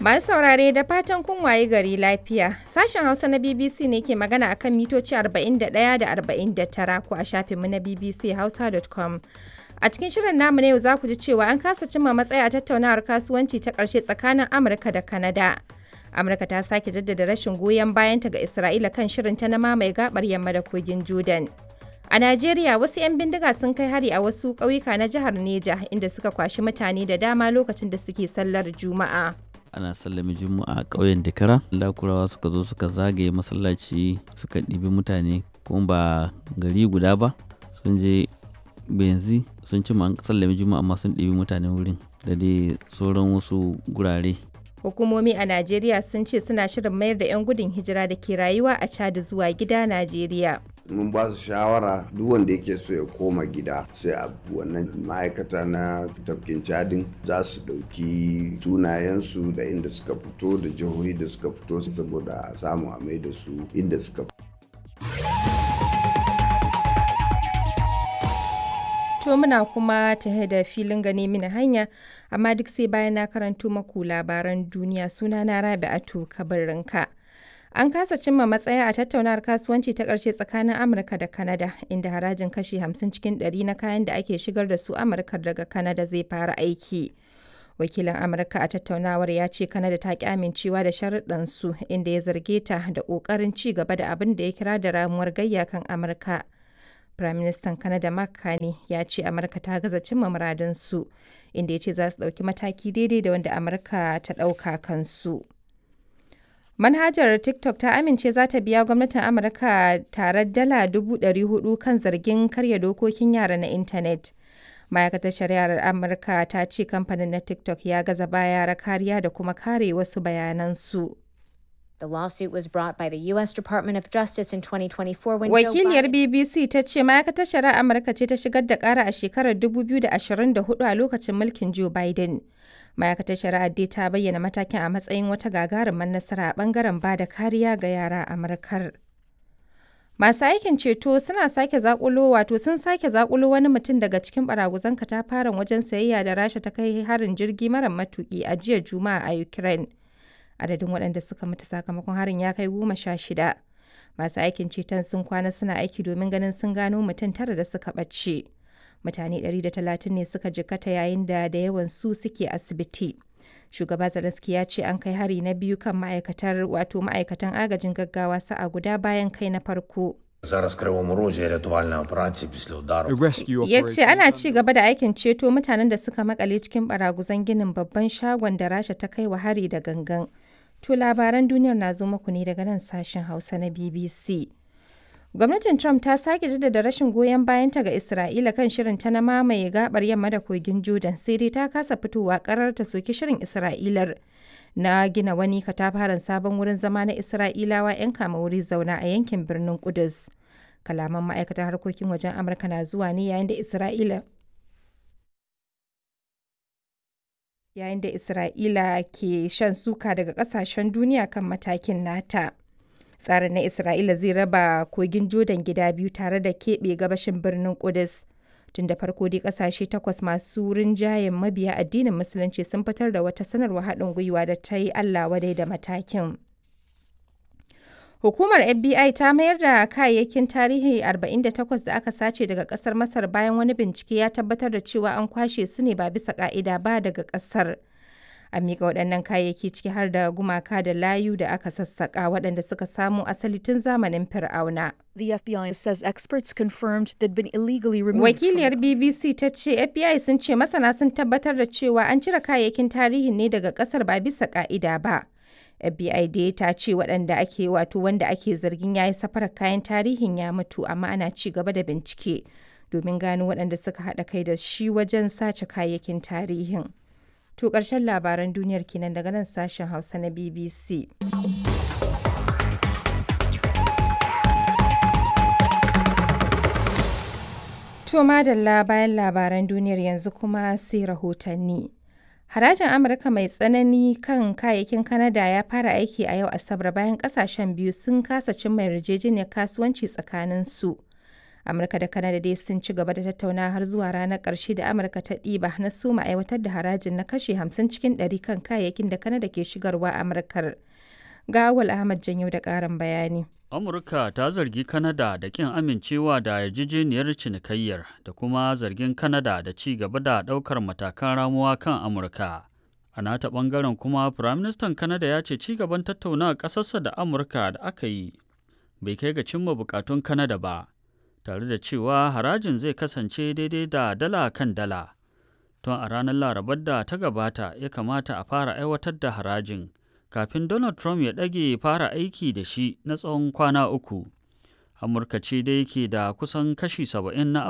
Masu saurare da fatan kun waye gari lafiya. Sashen Hausa na BBC ne ke magana akan mitoci 41 da 49 ko a shafinmu na bbchausa.com. A cikin shirin namu na yau za ku ji cewa an kasa cimma matsaya a tattaunawar kasuwanci ta ƙarshe tsakanin Amurka da Kanada. Amurka ta sake jaddada rashin goyon bayanta ga Isra'ila kan shirinta na mamaye gabar yamma da kogin Jordan. A Najeriya, wasu 'yan bindiga sun kai hari a wasu ƙauyuka na jihar Neja inda suka kwashi mutane da dama lokacin da suke sallar Juma'a. Ana sallame Juma'a a ƙauyen Dikara. Lakurawa suka zo suka zagaye masallaci suka ɗibi mutane kuma ba gari guda ba, sun je benzi sun ci an sallame Juma'a amma sun ɗibi mutane wurin da dai sauran wasu gurare. Hukumomi a Najeriya sun ce suna shirin mayar da 'yan gudun hijira da ke rayuwa a Chad zuwa gida Najeriya. Mun ba su shawara duk wanda yake so ya koma gida sai a wannan ma'aikata na tafkin Chadin za su ɗauki sunayensu da inda suka fito da jihohi da suka fito saboda a samu a mai da su inda suka fito. To muna kuma tahe da filin gane mini hanya, amma duk sai bayan na karanto maku labaran duniya. Suna na Rabi'atu Kabarinka. An kasa cimma matsaya a tattaunawar kasuwanci ta ƙarshe tsakanin Amurka da Kanada, inda harajin kashi 50 cikin 100 na kayan da ake shigar da su Amurka daga Kanada zai fara aiki. Wakilin Amurka a tattaunawar ya ce Kanada ta ki amincewa da sharuɗan su, inda ya zarge ta da ƙoƙarin ci gaba da abin da ya kira da ramuwar gayya kan Amurka. Firaministan Kanada Mark Carney ya ce Amurka ta gaza cimma muradunsu, inda ya ce za su ɗauki mataki daidai da wanda Amurka ta ɗauka kansu. Manhajar TikTok ta amince za ta biya gwamnatin Amurka tarar dala 400,000 kan zargin karya dokokin yara na intanet. Ma'aikatar Shari'ar Amurka ta ce kamfanin na TikTok ya gaza ba yara kariya da kuma kare wasu bayanansu. The lawsuit was brought by the U.S. Department of Justice in 2024 when Joe Wakiliyar Biden BBC ta ce ma'aikatar shari'ar Amurka ce ta shigar da ƙara a shekarar 2024 a lokacin mulkin Joe Biden. Ma'aikatar shari'ar dai ta bayyana matakin a matsayin wata gagarumar nasara a bangaren ba da kariya ga yara a Amurkar. Masu aikin ceto suna sake zakulo wato sun sake zakulo wani mutum daga cikin baraguzan katafaren wajen sayayya da Rasha ta kai harin jirgi mara matuki a jiya Juma'a a Ukraine. Adadin waɗanda suka mutu sakamakon harin ya kai 16. Masu aikin ceton sun kwana suna aiki domin ganin sun gano mutum tara da suka ɓace. Mutane 130 ne suka jikkata yayin da da yawan su suke asibiti. Shugaba Zelensky ya ce an kai hari na biyu kan ma'aikatar wato ma'aikatan agajin gaggawa sa'a guda bayan kai na farko. Зараз в Кривому Розі рятувальна операція після удару. A rescue Ya ce operation ana ci gaba da aikin ceto mutanen da suka makale cikin baraguzan ginin babban shagon da Rasha ta kai wa hari da gangan. To labaran duniyar na zo muku ne daga nan sashen Hausa na BBC. Gwamnatin Trump ta sake jaddada rashin goyon bayanta ga Isra'ila kan shirin ta na mamaye gabar yamma da kogin Jordan, sai dai ta kasa fitowa karar ta soki shirin Isra'ilar na gina wani katafaren sabon wurin zama na Isra'ilawa 'yan kama wuri zauna a yankin birnin Kudus. Kalaman ma'aikatar harkokin wajen Amurka na zuwa ne yayin da Isra'ila ke shan suka daga kasashen duniya kan matakin nata. Tsarin na Isra'ila zai raba kogin Jordan gida biyu tare da keɓe gabashin birnin Kudus. Tun da farko dai kasashe takwas masu rinjayen mabiya addinin Musulunci sun fitar da wata sanarwa haɗin gwiwa da ta yi Allah wadai da matakin. Hukumar FBI ta mayar da kayayyakin tarihi 48 da aka sace daga kasar Masar bayan wani bincike ya tabbatar da cewa an kwashe su ne ba bisa ka'ida ba daga kasar. A miƙa waɗannan kayayyaki, ciki har da gumaka da layu da aka sassaƙa waɗanda suka samo asali tun zamanin Fir'auna. The FBI says experts confirmed they'd been illegally removed from Wakiliyar BBC ta ce FBI sun ce masana sun tabbatar da cewa an cire kayayyakin tarihin ne daga kasar ba bisa ka'ida ba. FBI dai ta ce waɗanda ake wato wanda ake zargin ya yi safarar kayan tarihin ya mutu, amma ana ci gaba da bincike domin gano waɗanda suka haɗa kai da shi wajen sace kayayyakin tarihin. To ƙarshen labaran duniyar kenan daga nan sashen Hausa na BBC. To madalla, bayan labaran duniyar yanzu kuma sai rahotanni. Harajin Amurka mai tsanani kan kayayyakin Kanada ya fara aiki a yau Asabar bayan kasashen biyu sun kasa cimma yarjejeniyar kasuwanci tsakaninsu. Amurka da Kanada dai sun ci gaba da tattaunawa har zuwa ranar ƙarshe da Amurka ta ɗiba na soma aiwatar da harajin na kashi 50 cikin 100 kan kayayyakin da Kanada ke shigarwa Amurkar. Ga Awal Ahmad Janyo da ƙarin bayani. Amurka ta zargi Kanada da ƙin amincewa da yarjejeniyar cinikayyar da kuma zargin Kanada da ci gaba da ɗaukar matakan ramuwa kan Amurka. A nata ɓangaren kuma, Firaministan Kanada ya ce ci gaban tattaunawa ƙasarsa da Amurka da aka yi bai kai ga cimma buƙatun Kanada ba, tare da cewa harajin zai kasance daidai da dala kan dala. Tun a ranar Larabar da ta gabata ya kamata a fara aiwatar da harajin, kafin Donald Trump ya ɗage fara aiki da shi na tsawon kwana 3. Amurka ce dai ke da kusan kashi 70 na